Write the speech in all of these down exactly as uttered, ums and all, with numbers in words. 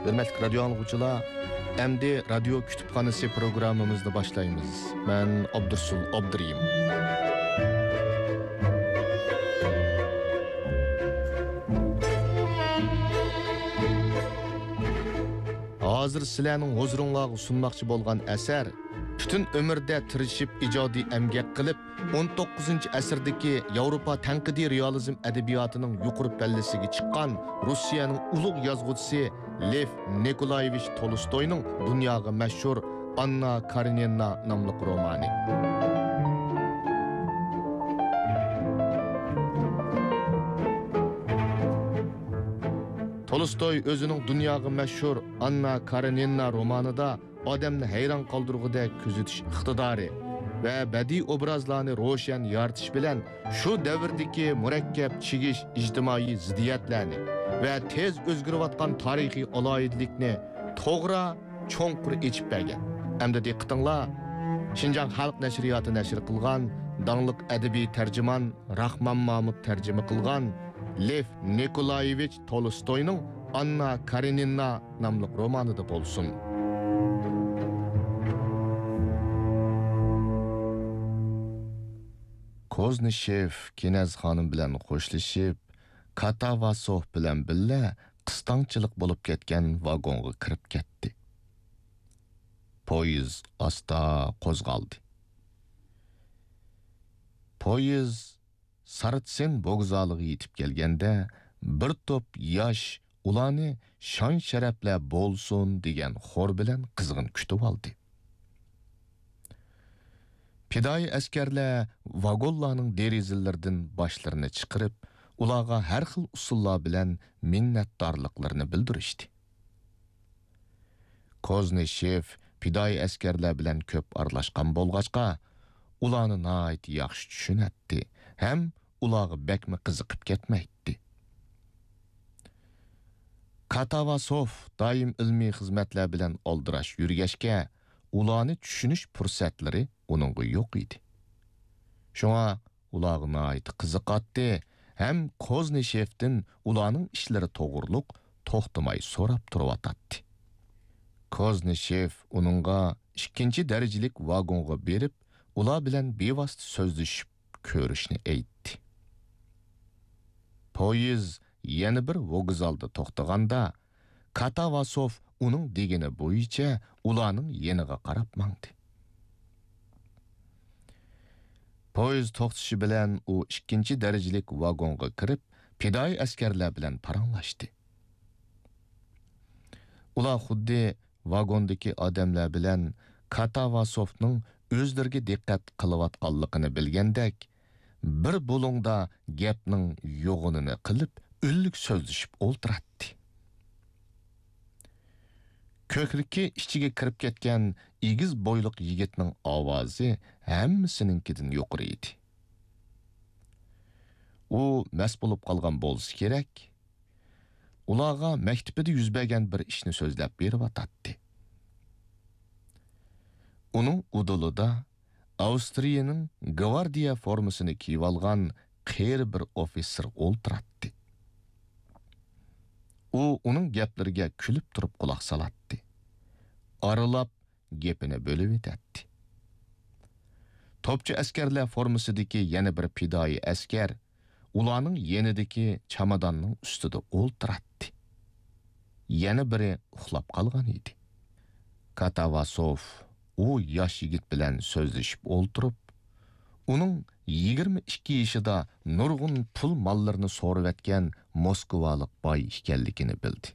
ھۆرمەتلىك رادىيو ئاڭلىغۇچىلار، ئەمدى رادىيو كۇتۇپخانىسى پروگراممىمىزنى باشلايمىز. مەن ئابدۇرسۇل ئابدۇرېھىم. ھازىر سىلەرنىڭ ھۇزۇرۇڭلارغا سۇنماقچى بولغان ئەسەر پۈتۈن ئۆمرىدە تىرىشىپ ئىجادىي ئەمگەك قىلىپ، ئون توققۇزىنچى ئەسىردىكى ياۋروپا تەنقىدىي رېئالىزم ئەدەبىياتىنىڭ يۇقىرى پەللىسىگە چىققان روسىيەنىڭ ئۇلۇغ يازغۇچىسى لېف نىكولايېۋىچ تولستوينىڭ دۇنياغا مەشھۇر ئاننا كارېنىنا ناملىق رومانى. تولستوي ئۆزىنىڭ دۇنياغا مەشھۇر ئاننا كارېنىنا رومانىدا ئادەمنى ھەيران قالدۇرغۇدەك كۆزىتىش ئىقتىدارى ۋە بەدىئىي ئوبرازلارنى روشەن يارىتىش بىلەن شۇ دەۋردىكى مۇرەككەپ چىگىش ئىجتىمائىي زىددىيەتلەرنى ۋە تېز ئۆزگىرىۋاتقان تارىخىي ئالاھىدىلىكنى توغرا، چوڭقۇر ئېچىپ بەرگەن. ئەمدى دىققىتىڭلار شىنجاڭ خەلق نەشرىياتى نەشر قىلغان داڭلىق ئەدەبىي تەرجىمان راخمان مامۇت تەرجىمە قىلغان لېف نىكولايېۋىچ تولستوينىڭ ئاننا كارېنىنا ناملىق رومانىدا بولسۇن. كوزنىشېف كىنەز خانىم بىلەن خوشلىشىپ، كاتاۋاسوف بىلەن بىللە قىستاڭچىلىق بولۇپ كەتكەن ۋاگونغا كىرىپ كەتتى. پويىز ئاستا قوزغالدى. پويىز سارتسېن ۋوگزالىغا يېتىپ كەلگەندە، بىر توپ ياش ئۇلارنى شان-شەرەپلەر بولسۇن دېگەن خور بىلەن قىزغىن كۈتۈۋالدى. پىدائىي ئەسكەرلەر ۋاگونلارنىڭ دېرىزىلىرىدىن باشلىرىنى چىقىرىپ، ئۇلارغا ھەر خىل ئۇسۇللار بىلەن مىننەتدارلىقلىرىنى بىلدۈرۈشتى. كوزنىشېف پىدائىي ئەسكەرلەر بىلەن كۆپ ئارىلاشقان بولغاچقا، ئۇلارنى ناھايىتى ياخشى چۈشىنەتتى ھەم ئۇلارغا بەكمۇ قىزىقىپ كەتمەيتتى. كاتاۋاسوف دائىم ئىلمىي خىزمەتلەر بىلەن ئالدىراش يۈرگەچكە، ئۇلارنى چۈشىنىش پۇرسەتلىرى ئۇنىڭغا يوق ئىدى. شۇڭا ئۇلارغا ناھايىتى قىزىقاتتى ھەم كوزنىشېفتىن ئۇلارنىڭ ئىشلىرى توغرۇلۇق توختىماي سوراپ تۇرۇۋاتاتتى. كوزنىشېف ئۇنىڭغا ئىككىنچى دەرىجىلىك ۋاگونغا بېرىپ، ئۇلار بىلەن بىۋاسىتە سۆزلىشىپ كۆرۈشنى ئېيتتى. پويىز يەنە بىر ۋوگزالدا توختىغاندا، كاتاۋاسوف ئۇنىڭ دېگىنى بويىچە ئۇلارنىڭ يېنىغا قاراپ ماڭدى. پويىز توختىشى بىلەن ئۇ ئىككىنچى دەرىجىلىك ۋاگونغا كىرىپ، پىدائىي ئەسكەرلەر بىلەن پاراڭلاشتى. ئۇلار خۇددى ۋاگوندىكى ئادەملەر بىلەن كاتاۋاسوفنىڭ ئۆزلىرىگە دىققەت قىلىۋاتقانلىقىنى بىلگەندەك، بىر بۇلۇڭدا گەپنىڭ يوغىنىنى قىلىپ، ئۈنلۈك سۆزلىشىپ ئولتۇراتتى. كۆكرىكى ئىچىگە كىرىپ كەتكەن ئېگىز بويلۇق يىگىتنىڭ ئاۋازى ھەممىسىنىڭكىدىن يۇقىرى ئىدى. ئۇ مەست بولۇپ قالغان بولسا كېرەك، ئۇلارغا مەكتىپىدە يۈز بەرگەن بىر ئىشنى سۆزلەپ بېرىۋاتاتتى. ئۇنىڭ ئۇدۇلىدا ئاۋسترىيەنىڭ گۋاردىيە فورمىسىنى كىيىۋالغان قېرى بىر ئوفىتسېر ئولتۇراتتى. ئۇ ئۇنىڭ گەپلىرىگە كۈلۈپ تۇرۇپ قۇلاق سالاتتى. ئارىلاپ گېپىنى بۆلۈۋېتەتتى. توپچى ئەسكەرلەر فورمىسىدىكى يەنە بىر پىدائىي ئەسكەر ئۇلارنىڭ يېنىدىكى چاماداننىڭ ئۈستىدە ئولتۇراتتى. يەنە بىرى ئۇخلاپ قالغان ئىدى. كاتاۋاسوف ئۇ ياش يىگىت بىلەن سۆزلىشىپ ئولتۇرۇپ، ئۇنىڭ يىگىرمە ئىككى يېشىدا نۇرغۇن پۇل ماللىرىنى سورۇۋەتكەن موسكۋالىق باي ئىكەنلىكىنى بىلدى.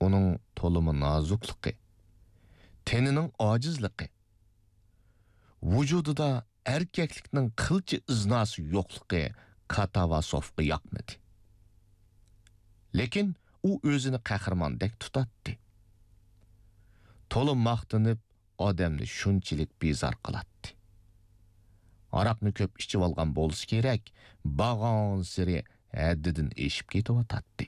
ئۇنىڭ تولىمۇ نازۇكلۇقى، تېنىنىڭ ئاجىزلىقى، ۋۇجۇدىدا ئەركەكلىكنىڭ قىلچە ئىزناسى يوقلۇقى كاتاۋاسوفقا ياقمىدى. لېكىن ئۇ ئۆزىنى قەھرىماندەك تۇتاتتى. تولا ماختىنىپ، ئادەمنى شۇنچىلىك بىزار قىلاتتى. ھاراقنى كۆپ ئىچىۋالغان بولسا كېرەك، بارغانسېرى ھەددىدىن ئېشىپ كېتىۋاتاتتى.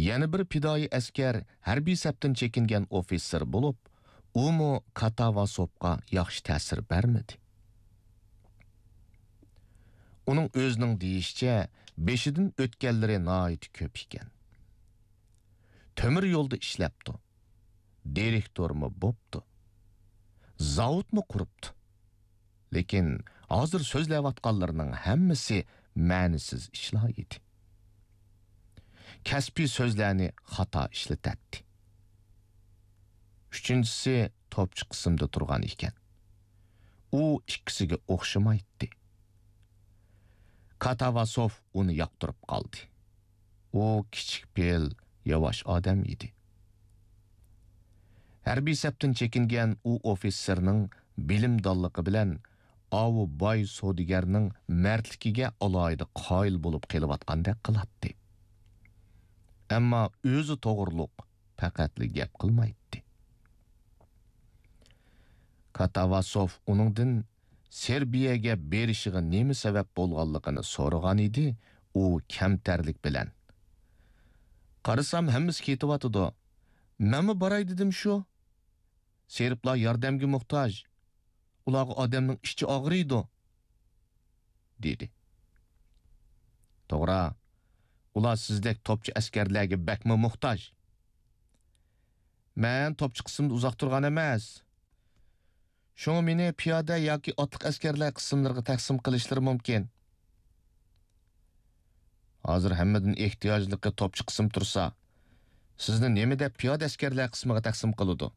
يەنە بىر پىدائىي ئەسكەر ھەربىي سەپتىن چېكىنگەن ئوفىتسېر بولۇپ، ئۇمۇ كاتاۋاسوفقا ياخشى تەسىر بەرمىدى. ئۇنىڭ ئۆزىنىڭ دېيىشىچە، بېشىدىن ئۆتكەنلىرى ناھايىتى كۆپ ئىكەن. تۆمۈر يولدا ئىشلەپتۇ. دىرېكتورمۇ بوپتۇ. زاۋۇتمۇ قۇرۇپتۇ. لېكىن ھازىر سۆزلەۋاتقانلىرىنىڭ ھەممىسى مەنىسىز ئىشلار ئىدى. كەسپىي سۆزلەرنى خاتا ئىشلىتەتتى. ئۈچىنچىسى توپچى قىسىمدا تۇرغان ئىكەن. ئۇ ئىككىسىگە ئوخشىمايتتى. كاتاۋاسوف ئۇنى ياقتۇرۇپ قالدى. ئۇ كىچىك پېئىل، ياۋاش ئادەم ئىدى. ھەربىي سەپتىن چېكىنگەن ئۇ ئوفىتسېرنىڭ بىلىمدانلىقى بىلەن ئاۋۇ باي سودىگەرنىڭ مەردلىكىگە ئالاھىدە قايىل بولۇپ قېلىۋاتقاندەك قىلاتتى. ئەمما ئۆزى توغرۇلۇق پەقەتلا گەپ قىلمايتتى. كاتاۋاسوف ئۇنىڭدىن سېربىيەگە بېرىشىغا نېمە سەۋەب بولغانلىقىنى سورىغان ئىدى، ئۇ كەمتەرلىك بىلەن: «قارىسام، ھەممىسى كېتىۋاتىدۇ. مەنمۇ باراي دېدىم شۇ. سېربلار ياردەمگە موھتاج. ئۇلارغا ئادەمنىڭ ئىچى ئاغرىيدۇ» دېدى. «توغرا، ئۇلار سىزدەك توپچى ئەسكەرلەرگە بەكمۇ موھتاج. مەن توپچى قىسىمدا ئۇزاق تۇرغان ئەمەس. شۇڭا مېنى پىيادە ياكى ئاتلىق ئەسكەرلەر قىسىملىرىغا تەقسىم قىلىشلىرى مۇمكىن.» «ھازىر ھەممىدىن ئېھتىياجلىقى توپچى قىسىم تۇرسا، سىزنى نېمە دەپ پىيادە ئەسكەرلەر قىسمىغا تەقسىم قىلىدۇ؟»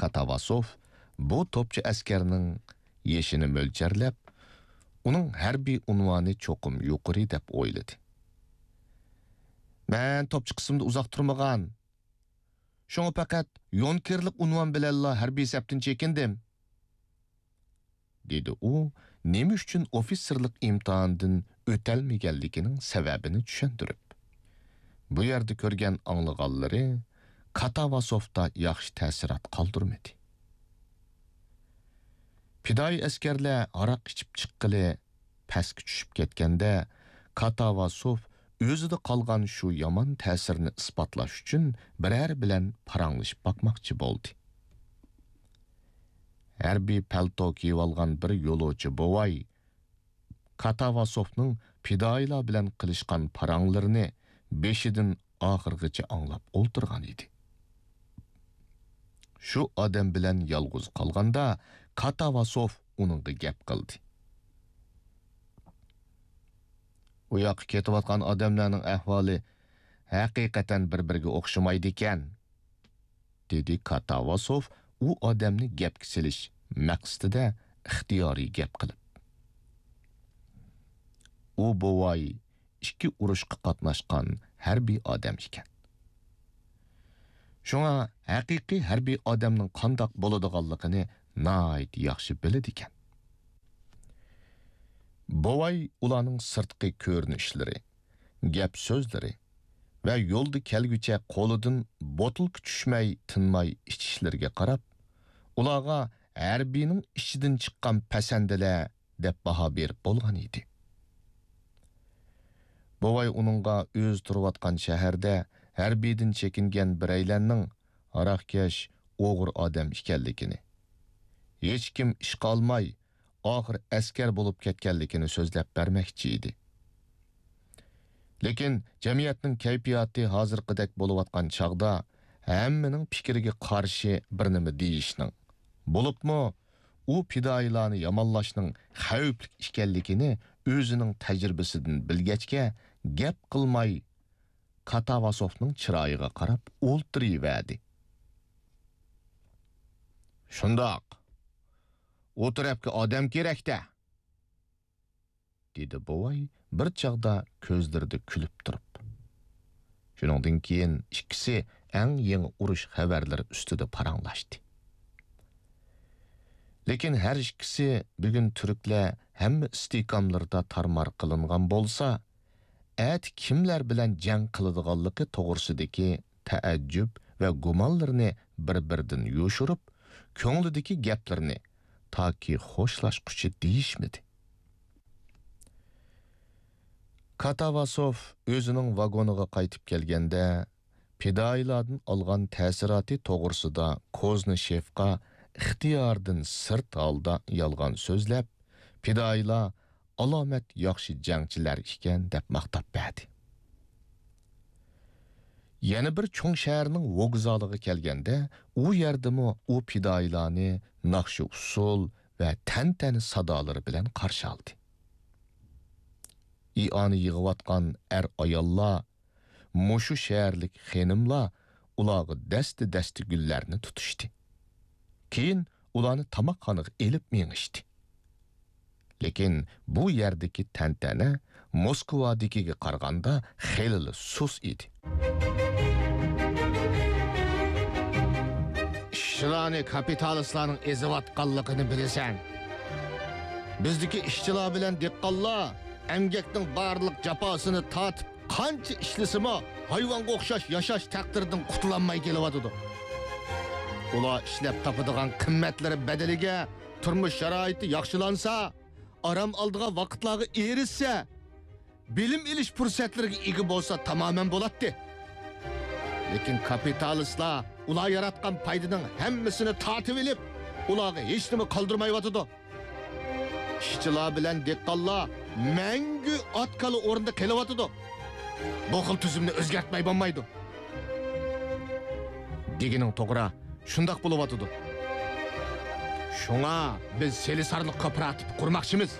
كاتاۋاسوف بۇ توپچى ئەسكەرنىڭ يېشىنى مۆلچەرلەپ، ئۇنىڭ ھەربىي ئۇنۋانى چوقۇم يۇقىرى دەپ ئويلىدى. «مەن توپچى قىسىمدا ئۇزاق تۇرمىغان. شۇڭا پەقەت يونكېرلىق ئۇنۋان بىلەنلا ھەربىي سەپتىن چېكىندىم» دېدى ئۇ، نېمە ئۈچۈن ئوفىتسېرلىق ئىمتىھانىدىن ئۆتەلمىگەنلىكىنىڭ سەۋەبىنى چۈشەندۈرۈپ. بۇ يەردە كۆرگەن ئاڭلىغانلىرى كاتاۋاسوفتا ياخشى تەسىرات قالدۇرمىدى. پىدائىي ئەسكەرلەر ھاراق ئىچىپ چىققىلى پەسكە چۈشۈپ كەتكەندە، كاتاۋاسوف ئۆزىدە قالغان شۇ يامان تەسىرنى ئىسپاتلاش ئۈچۈن بىرەر بىلەن پاراڭلىشىپ باقماقچى بولدى. ھەربىي پەلتو كىيىۋالغان بىر يولۇچى بوۋاي كاتاۋاسوفنىڭ پىدائىيلار بىلەن قىلىشقان پاراڭلىرىنى بېشىدىن ئاخىرغىچە ئاڭلاپ ئولتۇرغان ئىدى. شۇ ئادەم بىلەن يالغۇز قالغاندا، كاتاۋاسوف ئۇنىڭغا گەپ قىلدى. «ئۇ ياققا كېتىۋاتقان ئادەملەرنىڭ ئەھۋالى ھەقىقەتەن بىر-بىرىگە ئوخشىمايدىكەن» دېدى كاتاۋاسوف ئۇ ئادەمنى گەپكە سېلىش مەقسىتىدە ئىختىيارىي گەپ قىلىپ. ئۇ بوۋاي ئىككى ئۇرۇشقا قاتناشقان ھەربىي ئادەم ئىكەن. شۇڭا ھەقىقىي ھەربىي ئادەمنىڭ قانداق بولىدىغانلىقىنى ناھايىتى ياخشى بىلىدىكەن. بوۋاي ئۇلارنىڭ سىرتقى كۆرۈنۈشلىرى، گەپ سۆزلىرى ۋە يولدا كەلگۈچە قولىدىن بوتۇلكا چۈشمەي تىنماي ئىچىشلىرىگە قاراپ، ئۇلارغا ھەربىينىڭ ئىچىدىن چىققان پەسەندىلەر دەپ باھا بېرىپ بولغان ئىدى. بوۋاي ئۇنىڭغا ئۆزى تۇرۇۋاتقان شەھەردە ھەربىيدىن چېكىنگەن بىرەيلەننىڭ ھاراقكەش، ئوغرى ئادەم ئىكەنلىكىنى، ھېچكىم ئىشقا ئالماي، ئاخىر ئەسكەر بولۇپ كەتكەنلىكىنى سۆزلەپ بەرمەكچى ئىدى. لېكىن جەمئىيەتنىڭ كەيپىياتى ھازىرقىدەك بولۇۋاتقان چاغدا ھەممىنىڭ پىكرىگە قارشى بىر نېمە دېيىشنىڭ، بولۇپمۇ ئۇ پىدائىيلارنى يامانلاشنىڭ خەۋپلىك ئىكەنلىكىنى ئۆزىنىڭ تەجرىبىسىدىن بىلگەچكە، گەپ قىلماي كاتاۋاسوفنىڭ چىرايىغا قاراپ ئولتۇرۇۋەردى. «شۇنداق، ئۇ تەرەپكە ئادەم كېرەك-دە!» دېدى بوۋاي بىر چاغدا كۆزلىرىدە كۈلۈپ تۇرۇپ. شۇنىڭدىن كېيىن ئىككىسى ئەڭ يېڭى ئۇرۇش خەۋەرلىرى ئۈستىدە پاراڭلاشتى. لېكىن ھەر ئىككىسى بۈگۈن تۈركلەر ھەممە ئىستىھكاملىرىدا تارمار قىلىنغان بولسا، ئەتە كىملەر بىلەن جەڭ قىلىدىغانلىقى توغرىسىدىكى تەئەججۈپ ۋە گۇمانلىرىنى بىر-بىرىدىن يوشۇرۇپ، كۆڭلىدىكى گەپلىرىنى تاكى خوشلاشقۇچە دېيىشمىدى. كاتاۋاسوف ئۆزىنىڭ ۋاگونىغا قايتىپ كەلگەندە، پىدائىيلاردىن ئالغان تەسىراتى توغرىسىدا كوزنىشېفقا ئىختىيارىدىن سىرت ھالدا يالغان سۆزلەپ، پىدائىيلار ئالامەت ياخشى جەڭچىلەر ئىكەن دەپ ماختاپ بەردى. يەنە بىر چوڭ شەھەرنىڭ ۋوگزالىغا كەلگەندە، ئۇ يەردىمۇ ئۇ پىدائىيلارنى ناخشا-ئۇسسۇل ۋە تەنتەنە سادالىرى بىلەن قارشى ئالدى. ئىئانە يىغىۋاتقان ئەر-ئاياللار، مۇشۇ شەھەرلىك خېنىملار ئۇلارغا دەستە-دەستە گۈللەرنى تۇتۇشتى. كېيىن ئۇلارنى تاماقخانىغا ئېلىپ مېڭىشتى. لېكىن بۇ يەردىكى تەنتەنە موسكۋادىكىگە قارىغاندا خېلىلا سۇس ئىدى. ئىشچىلارنى كاپىتالىستلارنىڭ ئېزىۋاتقانلىقىنى بىلىسەن. بىزدىكى ئىشچىلار بىلەن دېھقانلار ئەمگەكنىڭ بارلىق جاپاسىنى تارتىپ، قانچە ئىشلىسىمۇ، ھايۋانغا ئوخشاش ياشاش تەقدىرىدىن قۇتۇلالماي كېلىۋاتىدۇ. ئۇلار ئىشلەپ تاپىدىغان قىممەتلىرى بەدىلىگە تۇرمۇش شارائىتى ياخشىلانسا، ئارام ئالىدىغان ۋاقىتلارغا ئېرىشسە، بىلىم ئېلىش پۇرسەتلىرىگە ئىگە بولسا تامامەن بولاتتى. لېكىن كاپىتالىستلار ئۇلار ياراتقان پايدىنىڭ ھەممىسىنى تارتىۋېلىپ، ئۇلارغا ھېچنېمە قالدۇرمايۋاتىدۇ. ئىشچىلار بىلەن دېھقانلار مەڭگۈ ئات-كالا ئورنىدا قېلىۋاتىدۇ. بۇ خىل تۈزۈمنى ئۆزگەرتمەي بولمايدۇ. دېگىنىڭ توغرا، شۇنداق بولۇۋاتىدۇ. شۇڭا بىز سېلىسارلىق كوپىراتىپى قۇرماقچىمىز.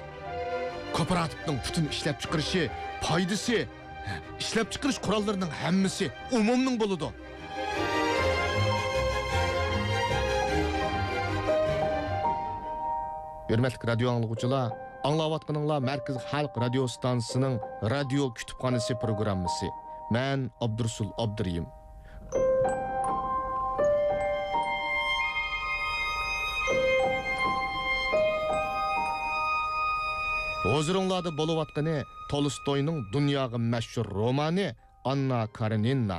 كوپىراتىپنىڭ پۈتۈن ئىشلەپچىقىرىشى، پايدىسى، ئىشلەپچىقىرىش قوراللىرىنىڭ ھەممىسى ئومۇمنىڭ بولىدۇ. ھۆرمەتلىك رادىيو ئاڭلىغۇچىلار، ئاڭلاۋاتقىنىڭلار مەركىزىي خەلق رادىيو ئىستانسىسىنىڭ رادىيو كۇتۇپخانىسى پروگراممىسى. مەن ئابدۇرۇسۇل ئابدۇرېھىم. ھۇزۇرۇڭلاردا بولۇۋاتقىنى تولستوينىڭ دۇنياغا مەشھۇر رومانى ئاننا كارېنىنا.